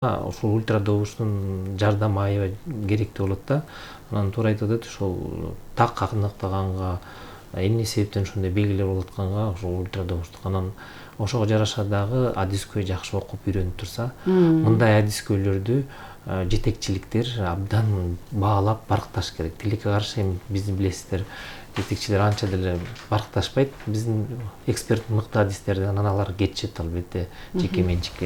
ушул ультрадобуштун жардамы аябай керектүү болот да. Анан туура айтып атат, ушул так аныктаганга эмне себептен ушундай белгилер болуп атканга ушул ультрадобуштук анан ошого жараша дагы адис көй жакшы окуп үйрөнүп турса, мындай адис көйлөрдү жетекчиликтер абдан баалап баркташ керек. Тилекке каршы эми биздин билесиздер, жетекчилер анча деле баркташпайт. Биздин эксперт мыкты адистерди анан алар кетишет албетте жеке менчик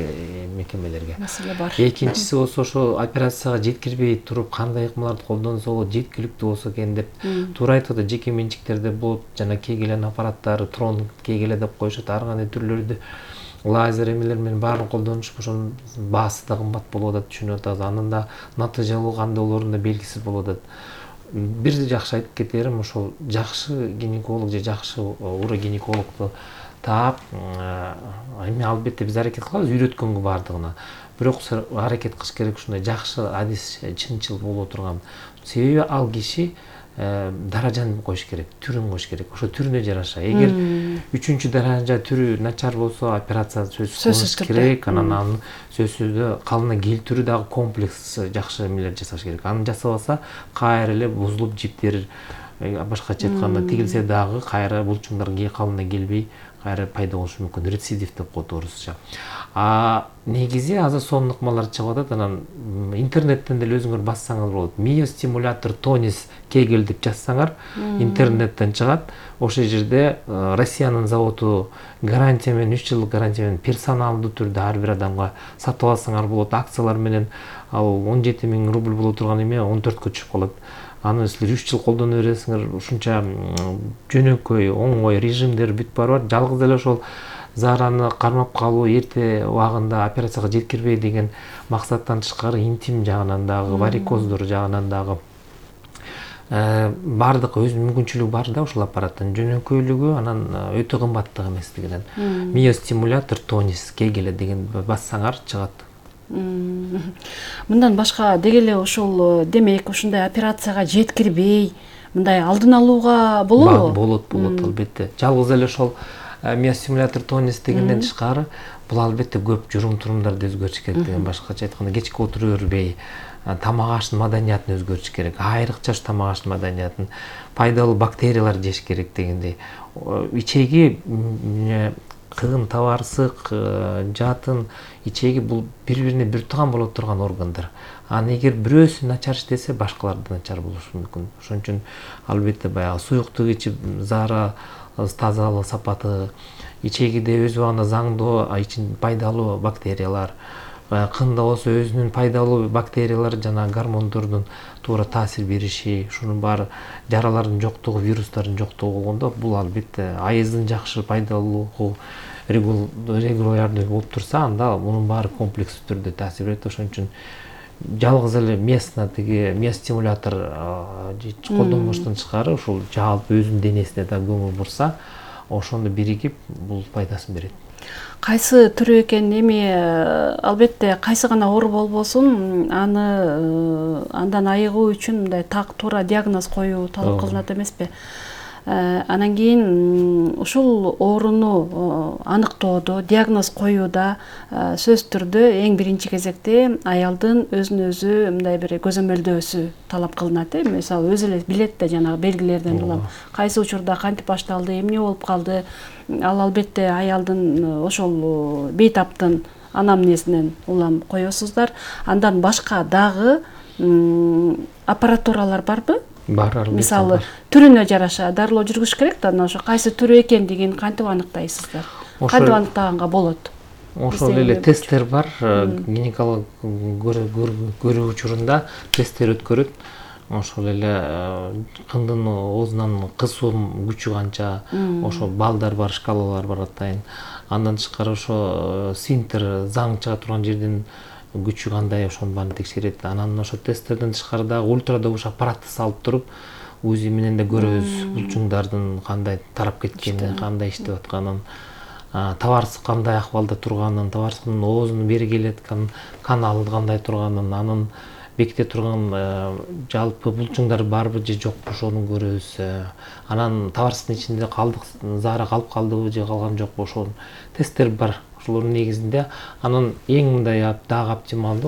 мекемелерге. Маселе бар. Экинчиси болсо ошо операцияга жеткирбей туруп кандай ыкмаларды колдонсо болот, жеткиликтүү болсо экен деп туура айтып атат. Жеке менчиктерде болот жана кегелен аппараттары, трон кегеле деп коюшат, ар кандай түрлөрдү лазер эмелер менен баарын колдонушуп, ошонун баасы да кымбат болуп атат, түшүнүп атабыз. Анын да натыйжалуу кандай болорун да белгисиз болуп атат. Бир жакшы айтып кетерим, ошол жакшы гинеколог же жакшы урогинекологду таап, эми албетте биз аракет кылабыз үйрөткөнгө баардыгына. Бирок аракет кылыш керек ушундай жакшы адис чынчыл боло турган. Себеби ал киши даражаны коюш керек, түрүн коюш керек. Ошо түрүнө жараша. Эгер 3-даража түрү начар болсо, операция сөзсүз керек. Анан сөзсүз калына келтирүү дагы комплекс жакшы эмелер жасаш керек. Аны жасабаса, кайра эле бузулуп жиптер башкача айтканда тигилсе дагы кайра булчуңдар калына келбей, кайра пайда болушу мүмкүн. Рецидив деп коет орусча. Негизи азыр сонун ыкмалар чыгып атат. Анан интернеттен деле өзүңөр бассаңыз болот. Миостимулятор тонис кегел деп жазсаңар, интернеттен чыгат. Ошол жерде Россиянын заводу гарантия менен 3 жылдык гарантия менен персоналдуу түрдө ар бир адамга сатып алсаңар болот. Акциялар менен ал 17 000 рубль боло турган эме 14кө түшүп калат. Аны силер 3 жыл колдоно бересиңер. Ушунча жөнөкөй, оңой режимдер бүт бар. Жалгыз эле ошол зараны кармап калуу, эрте убагында операцияга жеткирбей деген максаттан тышкары интим жагынан дагы, варикоздор жагынан дагы бардык өз мүмкүнчүлүгү бар да ушул аппараттын. Жөнөкөйлүгү анан өтө кымбаттык эместигинен. Миостимулятор тонис кегеле деген бассаңар чыгат. Мындан башка деги эле ушул демек ушундай операцияга жеткирбей мындай алдын алууга болобу? Болот албетте. Жалгыз эле ошол миостимулятор тонис дегенден тышкары бул албетте көп журум-турумдарды өзгөртүш керек деген, башкача айтканда кечке отуруп бербей, тамак аштын маданиятын өзгөртүш керек. Айрыкча тамак аштын маданиятын, пайдалуу бактериялар жеш керек дегендей. Ичеги кыгын, табарсык, жатын, ичеги бул бири-бирине бир тууган боло турган органдар. Аны эгер бирөөсү начар иштесе, башкалар да начар болушу мүмкүн. Ошон үчүн албетте баягы суюктук ичип, зара тазалык сапаты, ичегиде өз убагында заңдуу пайдалуу бактериялар, кында болсо өзүнүн пайдалуу бактериялар жана гормондордун туура таасир бериши, ушунун баары жаралардын жоктугу, вирустардын жоктугу болгондо бул албетте айыздын жакшы пайдалуулугу регулярдуу болуп турса, анда мунун баары комплекстүү түрдө таасир берет. Ошон үчүн жалгыз эле миостимулятор колдонбоштон тышкары ушул жалпы өзүнүн денесине да көңүл бурса, ошондо биригип бул пайдасын берет. Кайсы түрү экен, эми албетте кайсы гана оору болбосун, андан айыгуу үчүн мындай так туура диагноз коюу талап кылынат эмеспи? Анан кийин ушул ооруну аныктоодо, диагноз коюуда сөзсүз түрдө эң биринчи кезекте аялдын өзүн өзү мындай бир көзөмөлдөөсү талап кылынат. Мисалы өзү эле билет да жанагы белгилерден улам кайсы учурда кантип башталды, эмне болуп калды. Ал албетте аялдын ошол бейтаптын анамнезинен улам коесуздар. Андан башка дагы аппаратуралар барбы? Бар, албетте. Мисалы түрүнө жараша дарылоо жүргүзүш керек да, ошо кайсы түрү экендигин кантип аныктайсыздар? Кантип аныктаганга болот? Ошол эле тесттер бар. Гинеколог көрүү учурунда тесттер өткөрөт. Ошол эле кындын оозунан кысуум күчү канча, ошо балдар бар, шкалалар бар атайын. Андан тышкары ошо сфинктер, заң чыга турган жердин күчү кандай, ошонун баарын текшерет. Анан ошо тесттерден тышкары дагы ультрадобуш аппаратты салып туруп, УЗИ менен да көрөбүз булчуңдардын кандай тарап кеткенин, кандай иштеп атканын, табарсык кандай акыбалда турганын, табарсыктын оозунун бери келаткан каналы кандай турганын, анын беките турган жалпы булчуңдар барбы же жокпу ошону көрөбүз. Анан табарсыктын ичинде калдык зара калып калдыбы же калган жокпу, ошол тесттер бар. артылуунун негизинде анын эң мындай дагы оптималдуу